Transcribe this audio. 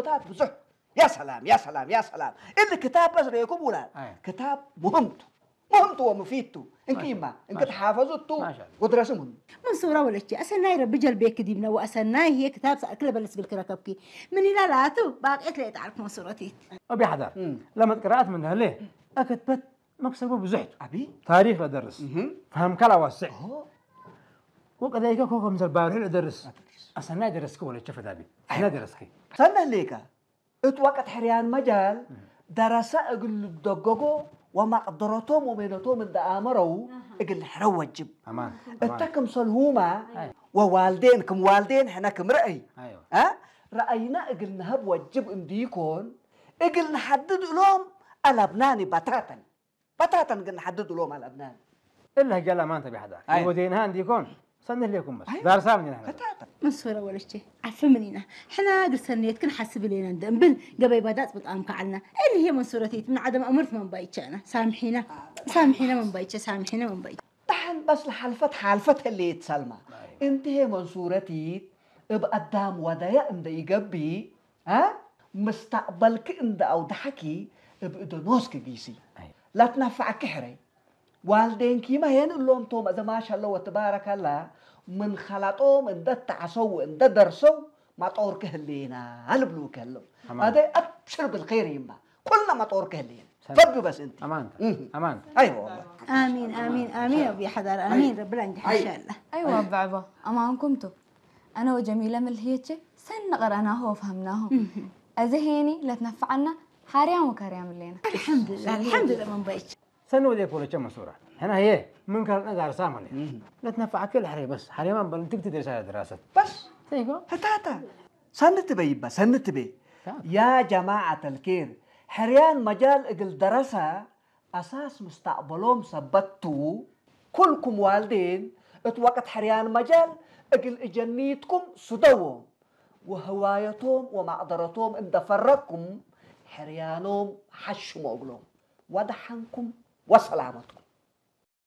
ታት ብዙሕ። ያ ሰላም፣ ያ ሰላም፣ ያ ሰላም። እሊ ክታብ በስ ርእየኩም ውላድ። ኣይ። ክታብ ሙህምቱ። ሙህምቱ ወሙፊቱ። እንክይማ፣ ማሻ-፣ እንክትሓፈዙቱ ማሻ-፣ ወድረስም ሁሉ። منصورة ولدتي، أسناي ربي جلبيك ديبنا وأسناي هي كتاب سأكل بلس بالكركبكي. من إلى لا تو، باقيت لي تعرف منصورتي. أبي حدار. مم. لما تقرأت من هلي، أكتبت مكسبه بزحت. أبي؟ تاريخ لدرس. مهم. فهم كلا واسع. أوه. وكذلك كوكو مثل بارح لدرس. أدرس. أسناي درسك ولا شفت أبي؟ أسناي درسك. ሰንህ ሌካ፣ እት ወቅት ሕርያን መጃል፣ ደረሰ እግል ልደገጎ ወመቅደረቶም ወሜነቶም እንደ ኣመረው፣ እግል ሕረ ወጅብ። ኣማን፣ ኣማን። እተ ክምሰልሁማ፣ ኣይ። ወዋልዴን፣ ክም ዋልዴን ሕነ ክም ረአይ። ኣይዋ። አ? ረአይና እግል ነሀብ ወጅብ እንዲኮን፣ እግል ነሐድድ እሎም አለብናኒ በታተን። በታተን ግን ነሐድድ እሎም አለብናኒ። እለ ህጃላ ማንተ ቢሐዳ። ኣይ። ወዴንሃ እንዲኮን፣ ሰንህ ሌኩም በስ። ኣይ። ዳርሳ ምን ኢና? በታተን። منصورة ولدتي، عفو منينا. حنا قصنيت كن حسب لينا ندنبل، قبي بدات بطعم كعلنا. اللي هي منصورتي، من عدم أمرت من بايتشانا. سامحينا. سامحينا من بايتشا، سامحينا من بايتشا. ደሓን በስ ለሓልፈት ሓልፈት ህልየት ሰልማ። ኣይዋ። እንተ መንሱረቲት እብ ኣዳም ወደያ እንደ ይገብእ፣ አ? ምስተቅበልኪ እንደ ኣውድሓኪ እብ እደ ኖስኪ ጊሲ። ኣይዋ። ለትነፋዕኪ ሕረይ። ዋልዴንኪመ ሄን እሎም ቶም እዘ ማሻለ ወትባረከላ ምን ኸላጦም እንደ ተዓሰው እንደ ደርሰው ማጦርኪ ህሌና ልብሉኪ ህለው። ኣማን። ኣደ ኣብሽር ብልኸይር ይማ። ኩልና መጦር ከህልየን። ሰላም። ፈዱ በስ እንቲ። ኣማንታ። እህ። ኣማንታ። ኣይወ ወላሂ። آمين، آمين، آمين، ربي حضر، آمين، رب العالمين، إن شاء الله. أيوة، بعبا، أمان كنتو. أنا وجميلة ملهيتشي، سن قرأناه وفهمناه. أزهيني، لا تنفعنا، حريان وكريان لينا. الحمد لله، الحمد لله، من بيتش. ሰኒ ወዴ ፖለቸ መንሱራ። ሕና ህየ ምን ካልነ ዳርሳ ማለት። እህ። ለትነፋዕ ክል ሕሬ በስ። ሓሬማን በል እንትግ ትደርሳ ድራሰት። በስ። ተይጎ? ህታታ። ሰኒ ትበይ ይባ፣ ሰኒ ትቤ። ታ። ያ ጀማዓተል ኬር፣ ሕርያን መጃል እግል ደረሰ፣ ኣሳስ ምስተቅበሎም ሰበቱ፣ ኩልኩም ዋልዴን፣ እት ወቅት ሕርያን መጃል እግል እጀኒትኩም ስደዎም፣ ወህዋየቶም ወማቅደረቶም እንደ ፈረኩም፣ ሕርያኖም ሓሽሞ እግሎም። ወደሓንኩም ወሰላመትኩም።